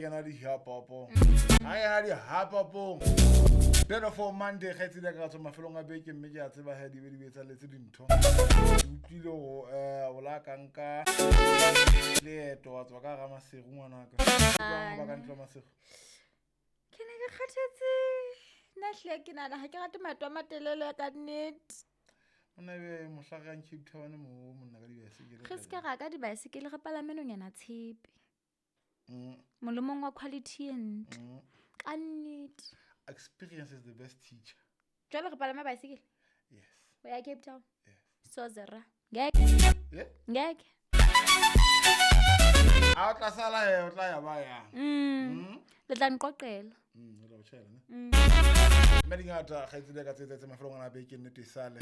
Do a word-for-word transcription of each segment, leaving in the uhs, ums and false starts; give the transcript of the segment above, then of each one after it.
kena dihapopo ha kena dihapopong beautiful Monday kgaitsedi ka tswa mafelong a beke mme ke a tseba he di be di etsalletse dintho ke utlwile go um o la ka nka leeto wa tswa ka hara Maseru ngwanaka jwang ba ka ntlo Maseru Ke ne ke kgathetse. Nna hle ke nahana ha ke rate maeto a matelele ka nnete. Monna ebe mohla re yang Cape Town mo monna ka dibaesekele Re se ke ra ka dibaesekele re palame nonyana tshepe. Mm, Molemong wa quality e ntle. mm. Ka nnete. Experience is the best teacher. Jwale re palame baesekele Yes. ho ya Cape Town. Yes. So zera. Ngeke. Yeah. Ngeke. A o tla sala he o tla ya ba yang. Mm. Mm. Le tla nqoqela. Mm, o tla o tjhaela ne. Mm. Mme dingata kgaitsedi ka tse etsahetse mafelong ana a beke nnete e sale.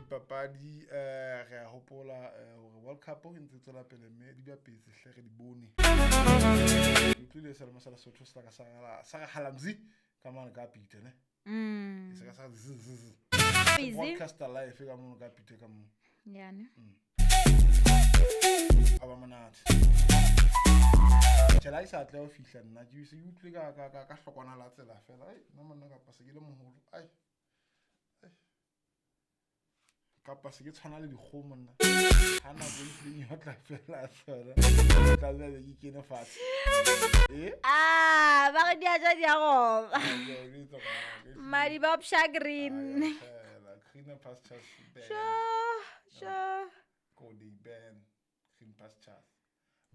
Dipapadi eh re a hopola eh, hore World Cup e ntse e tswela pele mme di bapetse hle re di bone. Ke utlwile selemo sa Lesotho se la ka sa sa re halamzi ka mane ka Peter ne. Mm. E se ka sa z z z. Busy. Broadcaster live ka mono ka Peter ka mono. Yeah, ne. A ba monate. Tjhe, la e sa atleha ho fihla nna ke se ke utlwile ka ka ka ka hlokwana la tsela fela. Ai, nna monna kapa se ke le moholo. Ai. Ai. Kapa se ke tshwana le dikgomo monna. Ha nako e tlileng ya tla fela tsona. Tla be ke kene fatshe. Eh? Ah, ba re di a ja di a roba. Ke a bitsa ngwana, ke Madi ba psha green. Ai, fela, greener pastures ban. Sure, sure. Go they ban green pastures.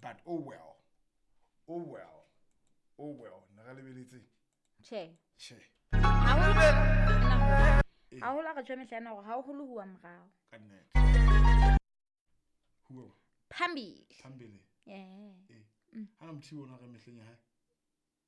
But oh well. Oh well. Oh well. Ne re lebeletse. Tjhe. Tjhe. Haholo Eh. haholo ha re tjho mehla ena hore haholo huwa morao. Ka nnete. Huwa Phambili. phambili. Yeah. Eh. Ha na mothibo ona re mehleng ya hae.